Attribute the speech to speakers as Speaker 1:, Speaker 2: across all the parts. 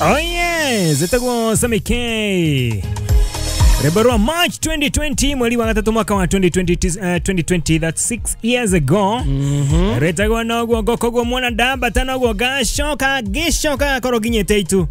Speaker 1: Oh yes, ĩtagwo Sammy K. Rwĩmbo rwa March 2020, mweri wa gatatũ mwaka wa 2020, that's 6 years ago. Rĩtagwo noguo ngokoguo mwana ndambata noguo ngacoka ngĩcoka gakorwo nginyĩte itu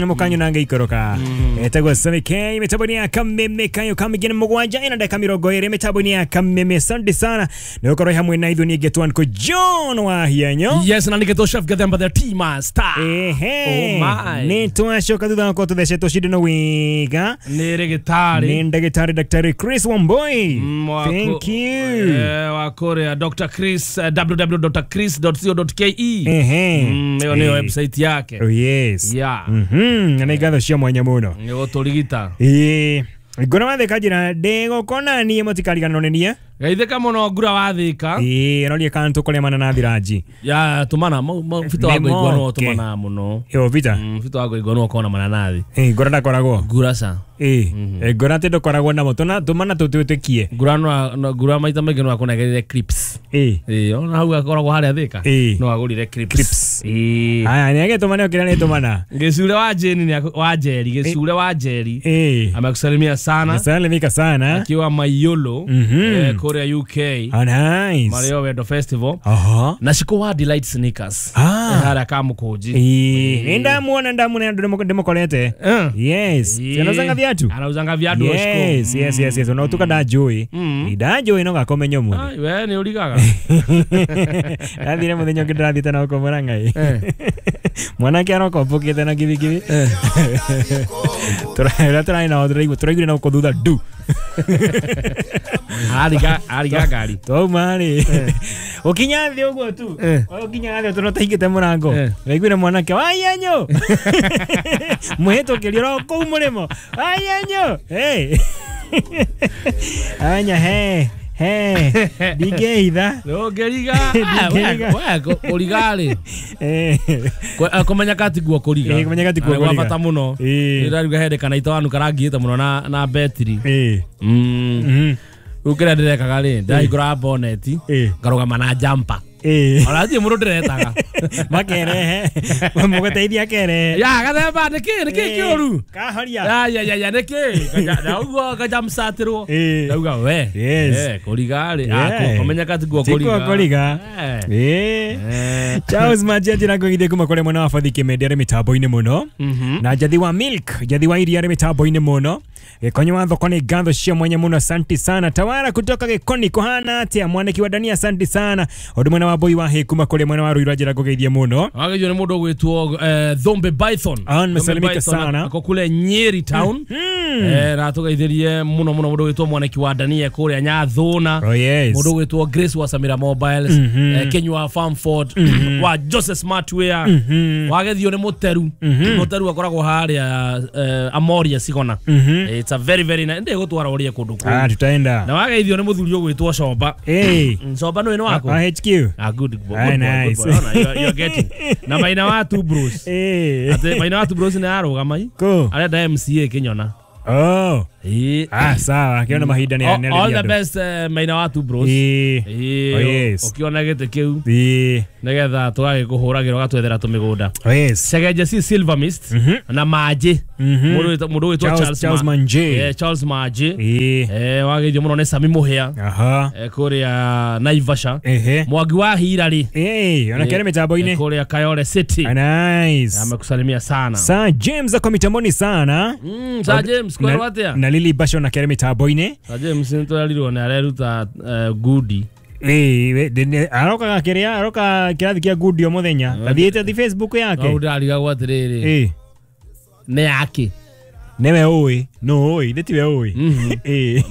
Speaker 1: mũkanyona ngĩikũrũka. Ĩtagwo Sammy K mĩtambo-inĩ ya Kameme kayo kamĩngĩ nĩ mũgwanja ĩna ndagĩka 20 mĩtambo-inĩ ya Kameme. Asante sana nĩ gũkorwo hamwe na ithuĩ. Niĩ ngetwo Uncle John wa Hianyo.
Speaker 2: Yes, na nĩgetwo Chef Gathemba the Tea Master.
Speaker 1: Ehe.
Speaker 2: Oh my.
Speaker 1: Nĩ twacoka thutha wa gũkorwo tũthecetwo cindano wega
Speaker 2: Nĩ rĩgĩtarĩ
Speaker 1: nĩ ndagĩtarĩ Daktari Chris Wamboi. Thank you.
Speaker 2: Wa kũrĩa Dr. Chris, www.chris.co.ke.
Speaker 1: Ehe.
Speaker 2: Ĩyo nĩyo website yake.
Speaker 1: Oh yes.
Speaker 2: Yeah.
Speaker 1: Na nĩ ngatho cia mwanya mũno.
Speaker 2: Nĩ gũtũrigita.
Speaker 1: Ĩĩ. Ngona wathĩka njĩra ndĩgũkona niĩ mũtikariganĩrwo nĩ niĩ.
Speaker 2: Geithĩka mũno ngura wathĩka.
Speaker 1: Ĩĩ, aroria kana tũkũrĩa mananathi ranji.
Speaker 2: Ya tũmana bita wa
Speaker 1: Nĩ
Speaker 2: ngũigua no
Speaker 1: moke.
Speaker 2: tũmana mũno.
Speaker 1: Ĩyo Peter.
Speaker 2: Bita wa ngũigua no ũkona mananathi.
Speaker 1: Ĩĩ, ngora ndakoragwo.
Speaker 2: Ngura ca.
Speaker 1: Ĩĩ, ngora atĩ ndũkoragwo namo tũmana tũtwĩtĩkie.
Speaker 2: Ngura no ngura maita maingĩ no akũnengerire clips.
Speaker 1: Ĩĩ.
Speaker 2: Ĩĩ, ona hau akoragwo harĩa Thĩka.
Speaker 1: Ĩĩ.
Speaker 2: No agũrire clips.
Speaker 1: Clips.
Speaker 2: Ĩĩ.
Speaker 1: Aya, nĩ agĩtũmana kĩrĩa nĩ tũmana.
Speaker 2: Gĩcure wa Jane wa Njeri, Gĩcure wa Njeri.
Speaker 1: Ĩĩ.
Speaker 2: Amekusalimia sana
Speaker 1: Nasalimika sana.
Speaker 2: akiwa Mayolo, kũrĩa UK.
Speaker 1: Oh, nice.
Speaker 2: Mario Wendo Festival.
Speaker 1: Aha.
Speaker 2: Na Shiko wa Delight Sneakers.
Speaker 1: Ah.
Speaker 2: Harĩa Kamũkũnji.
Speaker 1: Ĩĩ, nĩ ndamuona ndĩmũkorete. Yes.
Speaker 2: Ĩĩ.
Speaker 1: Anauzanga viatu.
Speaker 2: Anauzanga viatu o Shiko.
Speaker 1: Yes. Ona ũtuka ndanjũĩ. Ndanjũĩ no gakomenya ũmũthĩ.
Speaker 2: Ai, we nĩ ũrigaga.
Speaker 1: Ndathire mũthenya ũngĩ ndĩrathiĩte na gũkũ Mũrang'a. Mwanake aroka ũmbũkĩte na kibikibi. Tũrĩa tũrarĩ nao tũraiguire na gũkũ thutha ndu.
Speaker 2: Ariga ngari.
Speaker 1: Twauma rĩ. Ũkinya thĩ ũguo tu. Ũkinya thĩ tũrĩa ũtaingĩte mũrango. Ũraiguire mwanake waienyo. Mũhĩtũkĩri oro kũu mũrĩmo. Waienyo. Hey. Anya he. He. Ndingĩhitha.
Speaker 2: Ndũngĩriga.
Speaker 1: Ndingĩriga.
Speaker 2: We kũriga rĩ. Kũmenya katiguo kũriga.
Speaker 1: Ĩĩ, kũmenya katiguo
Speaker 2: Nĩ gwa
Speaker 1: kũriga.
Speaker 2: bata mũno.
Speaker 1: Ĩĩ.
Speaker 2: Ndĩraruga hĩndĩ kana itawanu karangĩte mũno na betiri.
Speaker 1: Ĩĩ.
Speaker 2: Rĩu kĩrĩa ndĩrekaga rĩ, ndahingũra boneti, ngarũgama na jumper.
Speaker 1: Ĩĩ.
Speaker 2: Ona hatirĩ mũndũ ndĩretaga.
Speaker 1: Makerehe. Mũgũteithia akerehe.
Speaker 2: Ya gathemba nĩkĩ kĩũru?
Speaker 1: Kahoria.
Speaker 2: Ya ya ya ya nĩkĩ? Na ũguo ngajamsatĩrwo.
Speaker 1: Ĩĩ.
Speaker 2: Ndauga we.
Speaker 1: Yes.
Speaker 2: Kũriga rĩ.
Speaker 1: Yeah.
Speaker 2: Kũmenya katiguo
Speaker 1: Tiguo
Speaker 2: kũriga.
Speaker 1: kũriga. Ĩĩ. Charles Majenji na ngũgithie kuma kũrĩ mwena wa Bathi Kĩmende arĩ mĩtambo-inĩ mũno. Na Njathi wa Milk, Njathi wa iria arĩ mĩtambo-inĩ mũno. Gĩkonyo wa thoko nĩ ngatho cia mwanya mũno, asante sana. Tawara kutoka Gĩkoni kũhana atĩa? Mwaniki wa Dania, asante sana. Ũndũ mwena wa Mbui wa Hĩ kuma kũrĩ mwena wa Ruiru njĩra ngũgeithie mũno.
Speaker 2: Wagĩrĩirwo nĩ mũndũ ũgwĩtwo Thombe Python.
Speaker 1: Ah, nimesalimika
Speaker 2: Thombe Python
Speaker 1: sana.
Speaker 2: Ako kule Nyeri town. Na tũgeithĩrie mũno mũno mũndũ ũgwĩtwo Mwaniki wa Dania kũrĩa Nyathũna.
Speaker 1: Oh yes.
Speaker 2: Mũndũ ũgwĩtwo Grace wa Samira Mobiles, Kenywa Farmford, wa Joseph Smartwear. Wagethio nĩ Mũteru. Mũteru akoragwo harĩa Amoria Sigona. It's a very very nice. Ndĩgũtwara ũrĩe kũndũ kũu.
Speaker 1: Ah, tutaenda.
Speaker 2: Na wageithio nĩ mũthuri ũgwĩtwo Comba.
Speaker 1: Ĩĩ.
Speaker 2: Comba nĩ waku?
Speaker 1: Ah, HQ.
Speaker 2: Ah, good boy,
Speaker 1: Ah,
Speaker 2: good boy,
Speaker 1: nice.
Speaker 2: good boy. Ona, you're getting. Na maina wa two bros.
Speaker 1: Ĩĩ.
Speaker 2: Ate maina wa two bros nĩ arũgama i.
Speaker 1: Kũ?
Speaker 2: Arenda MCA kĩnyona.
Speaker 1: Oh.
Speaker 2: Ĩĩ.
Speaker 1: Ah, sawa. Kĩona mahinda nĩ
Speaker 2: All the best, maina wa two bros.
Speaker 1: Ĩĩ.
Speaker 2: Ĩĩ.
Speaker 1: Oh, yes.
Speaker 2: Ũkĩona gĩtĩ kĩu
Speaker 1: Ĩĩ.
Speaker 2: nĩgetha tũgagĩkũhũragĩra ũgatwethera tũmĩgũnda.
Speaker 1: Oh, yes.
Speaker 2: Cegenje si Silver Mist na Manjĩ. Mũndũ ũgwĩtwo
Speaker 1: Charles Manjĩ.
Speaker 2: Charles Manjĩ.
Speaker 1: Ĩĩ.
Speaker 2: Wageithio mũno nĩ Sami Mũhĩa.
Speaker 1: Aha.
Speaker 2: Kũrĩa Naivasha.
Speaker 1: Ehe.
Speaker 2: Mwangi wa Hira rĩ.
Speaker 1: Ĩĩ, ona kĩrĩ mĩtambo-inĩ.
Speaker 2: Kũrĩa Kayole City.
Speaker 1: Ah, nice.
Speaker 2: Amekusalimia sana.
Speaker 1: Sir James ako mitamboni sana.
Speaker 2: Sir James kwĩrwo atĩa?
Speaker 1: Na Lily Basho na kĩrĩ mĩtambo-inĩ.
Speaker 2: Sir James nĩtũrerirwo nĩ areruta ngudi.
Speaker 1: Ĩĩ, arokaga kĩrĩa aroka kĩrathi kĩa ngudi o mũthenya. Athiĩte thi Facebook yake.
Speaker 2: No ndĩrarigagwo atĩrĩrĩ.
Speaker 1: Ĩĩ.
Speaker 2: Nĩ yake.
Speaker 1: Nĩwe ũĩ, no ũĩ, ithe tiwe ũĩ. Ĩĩ.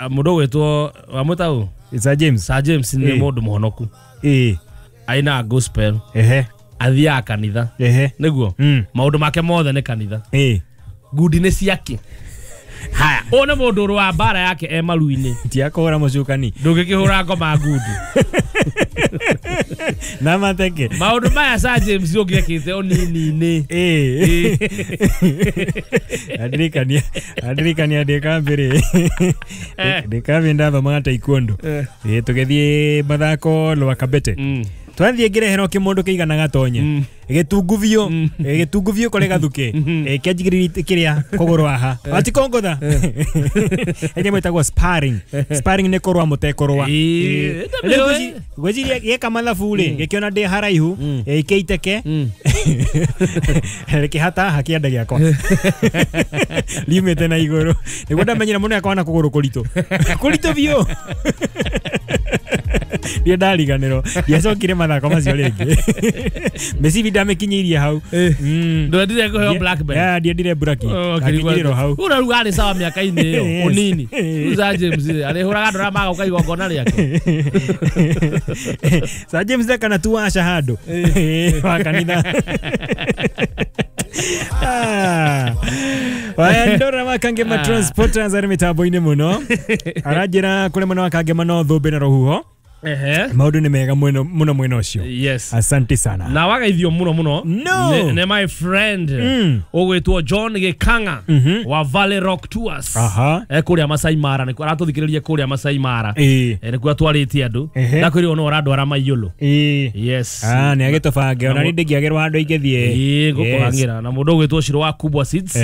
Speaker 2: Mũndũ ũgwĩtwo wamwĩta ũ?
Speaker 1: Sir James.
Speaker 2: Sir James nĩ
Speaker 1: Ĩĩ.
Speaker 2: mũndũ mũhonoku.
Speaker 1: Ĩĩ.
Speaker 2: Ainaga gospel.
Speaker 1: Ehe.
Speaker 2: Athiaga kanitha.
Speaker 1: Ehe.
Speaker 2: Nĩguo? Maũndũ make mothe nĩ kanitha.
Speaker 1: Ĩĩ.
Speaker 2: Ngundi nĩ ciake. Haya, ũyũ nĩ mũndũ ũrũa mbara yake e maru-inĩ.
Speaker 1: Ti akũhũra mũcukani.
Speaker 2: Ndũngĩkĩhũra ngoma ngundi.
Speaker 1: Na mateke.
Speaker 2: Maũndũ maya Sir James ũngĩekĩte ũnini-inĩ.
Speaker 1: Ĩĩ. Andirikania ndĩ kambĩ. Ndĩ kambĩ ndathomaga taekwondo. Ĩĩ, tũgĩthiĩ mathako Lwakabete. Twathiĩ ngĩreherwo kĩmũndũ kĩigana gatonye. Gĩtungu biũ. Gĩtungu biũ kũrĩ gathukĩ. Kĩanjigĩrĩire kĩrĩa kũgũrũ haha. Atikongotha. Enye mwĩtagwo sparring. Sparring nĩ kũrũa mũtekũrũa. Rĩu ngwĩciria gĩeka mathabu rĩ, gĩkĩona ndĩ haraihu, kĩiteke. Rĩkĩhata haha kĩande gĩakwa. Riumĩte na igũrũ. Nĩguo ndamenyire mũno akwa na kũgũrũ kũritũ. Kũritũ biũ. Ndiĩ ndariganĩrwo. Ndiacokire mathako macio rĩngĩ. Mĩcibi ndamĩkinyĩirie hau.
Speaker 2: Ndwendire kũheo black belt.
Speaker 1: Yeah, ndiendire buraki. Akinyĩrĩrwo hau.
Speaker 2: Ura rĩu arĩ sawa mĩaka-inĩ ĩyo ũnini. Rĩu Sir James arĩhũraga andũ arĩa magoka igongona rĩake.
Speaker 1: Sir James ndakana tu waca handũ. Wa kanitha. Waya ndora wa Kangema Transporters arĩ mĩtambo-inĩ mũno. Aranjĩra kũrĩ mwena wa Kangema no thũmbĩ na rũhuho. Maũndũ nĩ mega mũno mwena ũcio.
Speaker 2: Yes.
Speaker 1: Asante sana.
Speaker 2: Na wagaithio mũno mũno.
Speaker 1: No.
Speaker 2: Ne my friend ũgwĩtwo John Gĩkang'a wa Valley Rock Tours. Kũrĩa Masai Mara nĩkuo aratũthikĩrĩria kũrĩa Masai Mara. Nĩkuo atwarĩte andũ. Ndakwĩrwo no ũrandwara Maiyũlũ. Yes.
Speaker 1: Nĩ agĩtũbange ona niĩ ndingĩagĩrwo handũ ingĩthiĩ.
Speaker 2: Ngũkũhang'ĩra na mũndũ ũgwĩtwo Shiro wa Kubwa Seeds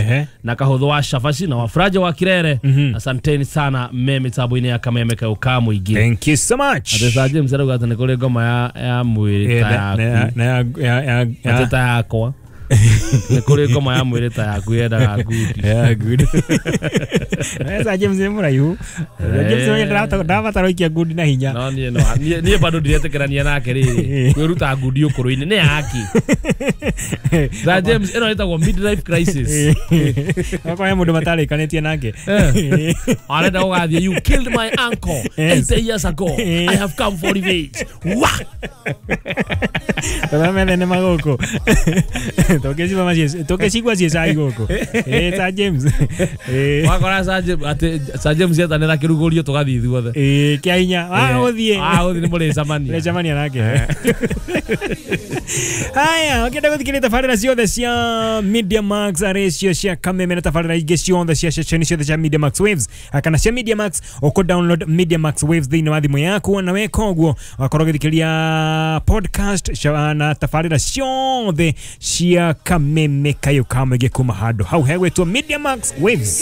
Speaker 2: na Kahũthũ wa Shabashi na Wafraja wa Kirere. Asanteni sana me mĩtambo-inĩ ya Kameme Kayũ ka Mũingĩ.
Speaker 1: Thank you so much.
Speaker 2: Sir James arauga atĩ nĩ kũrĩ ngoma ya mwĩrĩ ta yaku.
Speaker 1: Na ya
Speaker 2: atĩ ta yakwa. Nĩ kũrĩ ngoma ya mwĩrĩ ta yaku yendaga ngundi.
Speaker 1: Yeah, good. Sir James nĩ mũraihu. Sir James nĩ ndabatara ikia ngundi na hinya.
Speaker 2: No niĩ no niĩ bado ndiretĩkĩrania nake rĩrĩ. Kwĩruta ngundi ũkũrũ-inĩ nĩ yaki. Sir James ĩno ĩtagwo midlife crisis.
Speaker 1: Okorwo he mũndũ matarĩkanĩtie nake.
Speaker 2: Arenda gũgathiĩ you killed my uncle 80 years ago. I have come for revenge. Wah!
Speaker 1: Tũramene nĩ magũkũ. Tũkĩcigua ciĩ cai gũkũ. Sir James.
Speaker 2: Wakora Sir James atĩ Sir James etanĩra kĩrugũrio tũgathiĩ ithuothe.
Speaker 1: Kĩa hinya. Gũthiĩ.
Speaker 2: Gũthiĩ nĩ mũrĩcemania.
Speaker 1: Mũrĩcemania nake. Haya, ũkĩenda gũthikĩrĩria tabarĩra ciothe cia Media Max arĩ cio cia Kameme na tabarĩra ingĩ ciothe cia ceceni ciothe cia Media Max Waves kana cia Media Max, ũkũ download Media Max Waves thĩinĩ wa thimũ yaku na weka ũguo wakorwo ũgĩthikĩrĩria podcast na tabarĩra ciothe cia Kameme Kayũ ka Mũingĩ kuma handũ hau hegwĩtwo Media Max Waves.